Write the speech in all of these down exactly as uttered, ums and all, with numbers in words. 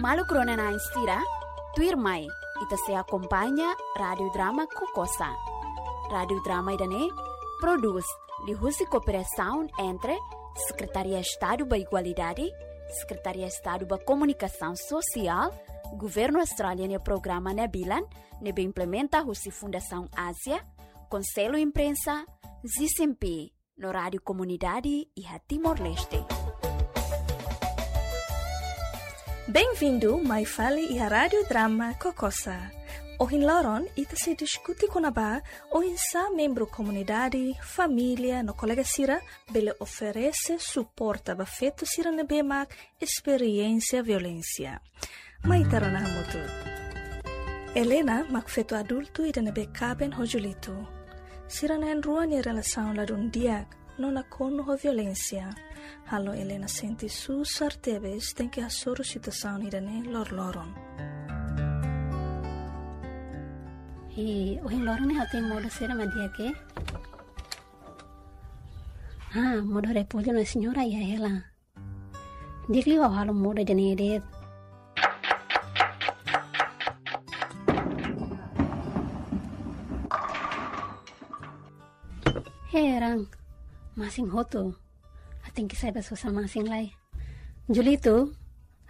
Maluk rona-na'in sira, tuirmai, ita sei akompaña Rádiu Drama Kokosa. Rádiu Drama ida-ne'e prodús liuhusi kooperasaun entre Sekretaria Estadu ba Igualdade, Sekretaria Estadu ba Komunikasaun Sosiál, Governu Austrália nia programa NEBILAN, ne'ebé implementa husi Fundasaun Ázia, Konsellu Imprensa, ZISMP, no Rádiu Komunidade iha Timor-Leste. Bem-vindo mai fali iha Rádiu Drama Kokosa. Ohin loron ita sei diskute kona-ba oinsá membru komunidade, família no kolega sira bele oferese suporta ba feto sira ne'ebé mak esperiénsia violénsia. Mai ita rona hamutuk. Elena mak feto adultu ida ne'ebé kaben ho Julito. Sira na'in-rua nia relasaun ladún di'ak no nakonu ho violénsia, halo Elena sente susar tebes tenke hasoru situasaun ida-ne'e loroloron. Hi, ohin loron ne'e ha'u-nia modo sira mak di'ak ka? Ah, modo repollo no señora iha hela. Di'ak liu ha'u halo modo ida-ne'e de'it. Heran, masin hotu. Ha'u tenke sai bá sosa masin lai. Julito,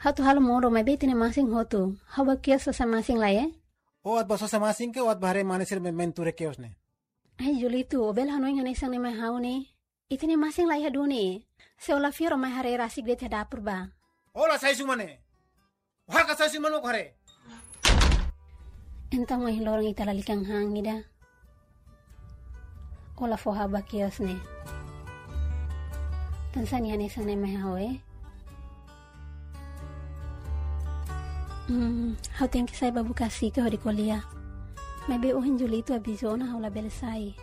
ha'u atu halo modo maibé ita-nia masin hotu. Ha'u bá kios sosa masin lai, eh? Ó atu bá sosa masin ka ó atu bá haree mane sira mai, mai tuur iha kios ne'e? Ai, Julito, ó bele hanoin hanesan ne'e mai ha'u ne'e. Ita-nia masin la iha duni. Se ó la fiar ó mai haree rasik de'it iha dapur bá. Ó la sai husi uma ne'e. Ó hakarak sai husi uma ne'e ó haree. Entaun ohin loron ita lalika han ida. Ó la fó ha'u bá kios ne'e. Tansá nia hanesan ne'e mai ha'u, eh? Hmm, ha'u tenke sai bá buka Asika hodi ko'alia. Maibé ohin Julito aviza ona ha'u labele sai.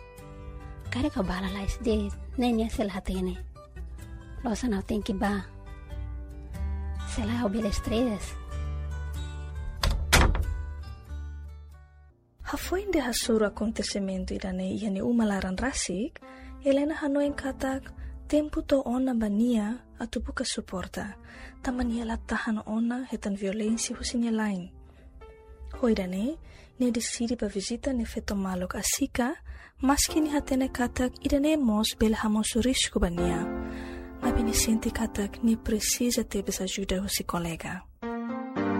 Karik ha'u bá lalais de'it, ne'e nia sei la hatene. Loos ona ha'u tenke bá. Sei la ha'u bele stress. Hafoin de'it hasoru akontesimentu ida-ne'e iha nia uma laran rasik, Elena hanoin katak tempu to'o ona ba nia atu buka suporta, tanba nia la tahan ona hetan violénsia husi nia la'en. Ho ida-ne'e, nia deside bá vizita nia feto maluk Asika, maski nia hatene katak ida-ne'e mós bele hamosu risku ba nia. Maibé nia sente katak nia presiza tebes ajuda husi kolega.